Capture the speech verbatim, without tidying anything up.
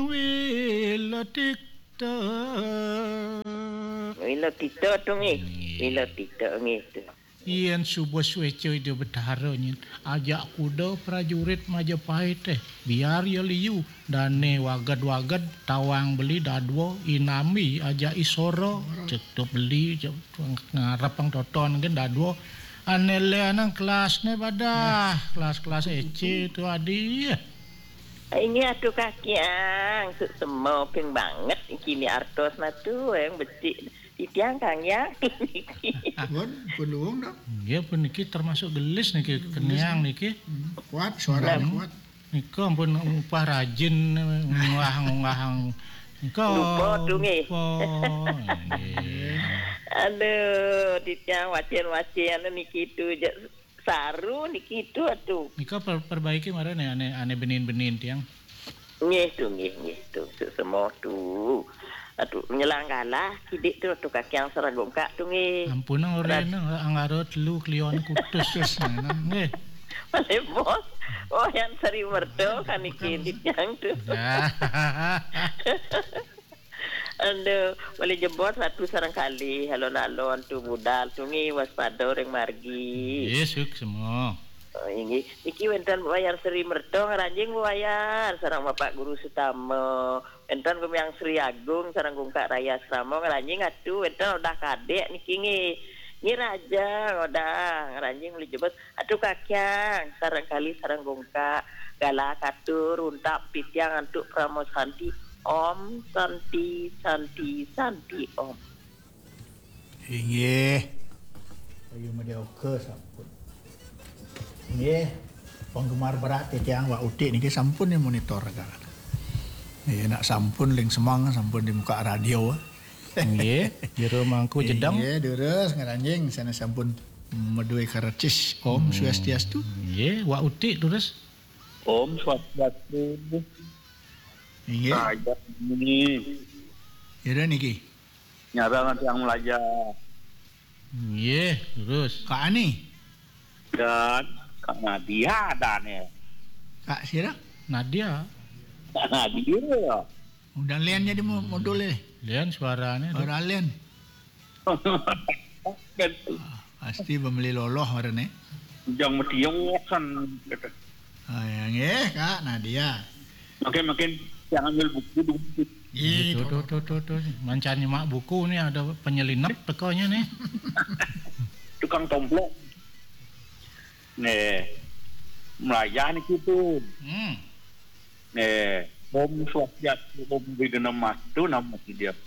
Wilatita. Wilatita tu nggih. Nggih. Wilatita nggih tu. Yén suba suéca Ida Betara nyin, ajak kuda prajurit Majapahit, eh, biar ya liu, dané waged-waged, tawang beli dadua, inambi ajak isora, cetup beli, ngarepang toton gén dadua, ané lénan kelasné padah, kelas-kelas écé tu adi. Inggih atuh kakiang, suksma ping banget niki artosna tu, yang becik. Titiang kang yang. Pun, pun luwung dong. Nggih, puniki termasuk gelis niki, keniang niki. Hmm, kuat, suaranya kuat. Nika ampun upah rajin ngunggah-ngunggah. Nika lupa tu nggih. Lupa. Nggih. Aduh, titiang wacén-wacén niki tu je saru niki tu atuh. Nika per-, perbaiki mara né ané, ané benin-benin tiang. Nggih tu, nggih, nggih tu. Suksma tu. Atuh nyelang galah kidik tu atuh kakiang sareng gungkak tu nggih. Ampun, ora Ras- ené, anggara telu klion kutus terus nggih. Malih bos. Oh, yang Sri Merta kan niki titiang tu. Ya. Aduh, malih jebos atu sareng kalih alon-alon tu budal tu nggih waspada ring margi. Nggih, suksma. Oh, inggih. Niki wénten Wayan Sri Merta ngranjing Wayan sareng Bapak Guru Sutama. Wénten Gumiang Sri Agung sareng Gungkak Raya Asrama ngranjing atu wénten Odah Kadék niki nggih. Nggih Raja Odah ngranjing malih jebos. Atuh kakiang, sareng kalih sareng gungkak, galah katur, untap titiang antuk parama santi. Om Santi, Santi, Santi, Om. Inggih. Bayu Madya Oka sampun. Inggih. Penggemar berat titiang Wak Utik niki sampun nih monitor kan. Nggih, nak sampun ling semang, sampun di muka radio. Nggih, jero mangku jedeng. Inggih, durus ngranjing sana sampun madué karecis. Om Swastiastu. Nggih, Wak Utik terus. Om Swastiastu. Inggih. Saya ini. Ira niki. Nyarang tiang Melaja. Nggih, terus. Kak Ani. Dan Kak Nadia dan ya. Kak sira? Nadia. Kak Nadia. Udah lian jadi mo-, modul eh. Lian suaranya tu. Ora lian. Kan. Ah, pasti pembeli loloh orang ni. Ujang metiung kan. Ah, yang eh, Kak Nadia. Makin-makin yang ambil buku dulu. Ih, tuh, tuh, tuh, tuh, tuh. Mancan nyemak buku nih, ada penyelinap tekonya nih. Tukang tomplok. Nih. Melayah nih gitu. Hmm. Nih. Om Swastiastu, Om Widana Mastu, nama dia.